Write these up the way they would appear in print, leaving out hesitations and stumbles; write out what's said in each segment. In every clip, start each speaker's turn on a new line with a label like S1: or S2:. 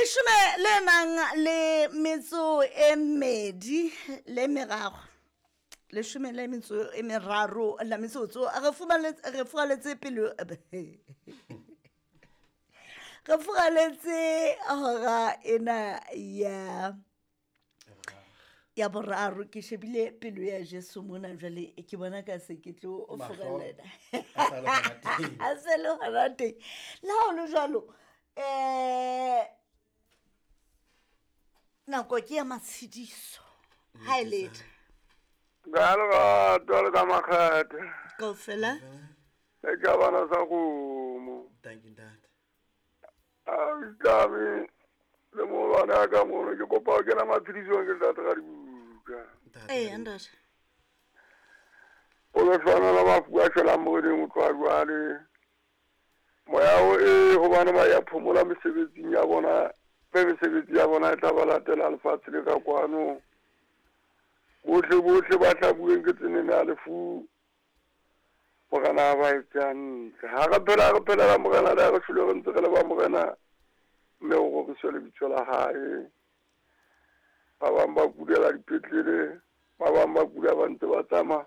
S1: Leshome le nang le metso e mmedi le meraro, leshome le metso e meraro la metsotso, re fumaletse, re furaletse pelo, re furaletse hora ena ya ya boraro. Ke shebile pelo ya Jesu mona jwale, ke bona ka se ke tlo furalela a se le hona teng. Le ha ho le jwalo, nako ke ya matshediso ha e letho.
S2: Ka lerato le ka makgethe.
S1: Kaofela.
S2: Le ka bana sa kgomo.
S3: Thank you, ntate.
S2: A itlame le molwane a ka mono, ke kopa ho kena matshedisong ke ntate ga dibuka.
S1: Ee, ntate.
S2: O le hlonela mafu a shwelang moreneng o tloha jwale. Moya o e hobane ba ya phomola mesebetsing ya bona, mme mesebetsi ya bona e tla ba latela lefatshe le ka kwano. Bohle bohle ba hlabuweng ke tsenene ya lefu, Morena a ba etse hantle. Ha re phela re phelela Morena, le ha re shwele re ntse re le ba Morena, mme o roriswe lebitso la hae. Ba bang ba kulela dipetlele, ba bang ba kula ba ntse ba tsamaya,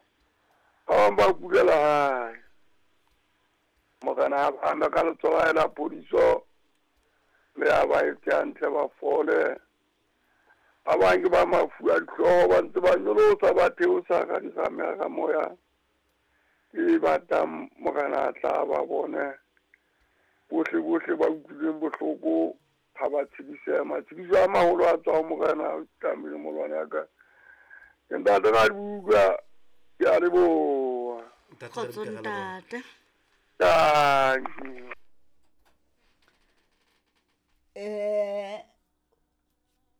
S2: ba bang ba kulela hae. Morena a ba ame ka letsoho la hae la phodiso, mme a ba etse hantle ba fole. Ba bang ke ba mafu a dihlooho ba ntse ba nyolosa ba theosa ka diramera moya e batang Morena a tla ba bone. Bohle bohle ba utlwileng bohloko ha ba tshedisehe. Matshediso a maholo a tswa ho Morena o tlamehile molwane ya ka. Ke ntate ga dibuka, ke a leboha.
S3: Ntate
S1: Kgotso
S3: ga dibuka, re a leboha.
S1: Ntate.
S2: Thank you.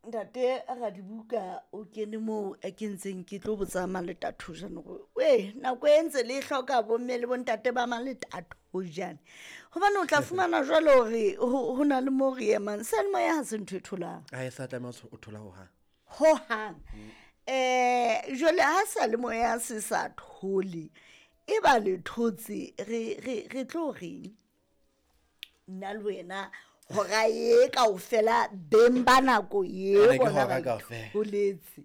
S1: Ntate Radibuka o kene moo e ke ntseng ke tlo botsa Maletato jane gore ee nako e ntse le hloka bomme le bontate ba Maletato jane, gobane o tla fumana jwale gore ho na le mo re emang seyalemoya ga se ntho e tholang.
S3: A e sa tlameha o thola hohang.
S1: Hohang. Jwale ha seyalemoya se sa thole, e ba le thotse, re re re tlo reng nna le wena hora e kaofela beng ba nako e
S3: Ene ke
S1: bona
S3: hora
S1: ba
S3: kaofela.
S1: itholetse.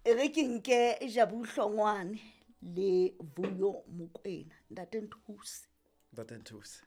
S1: E re ke nke Jabu Hlongwane le Vuyo Mokwena. Ntate Nthuse.
S3: Ntate Nthuse.